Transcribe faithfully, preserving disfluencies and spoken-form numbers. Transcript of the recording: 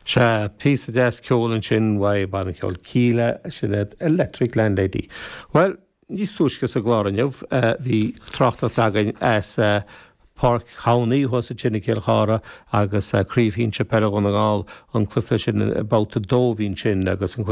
Sea píosa deas ceoil ansin uaidh banna ceoil Kíla sin Electric Landlady. Well, níos túisce sa gclár inniu bhí tráchtaireacht againn as Páirc Chonnaí thuas ansin i gCill Chartha agus Craobh Shinsir Peile Dhún na nGall an cluiche sin babhta a dó bhí sin agus an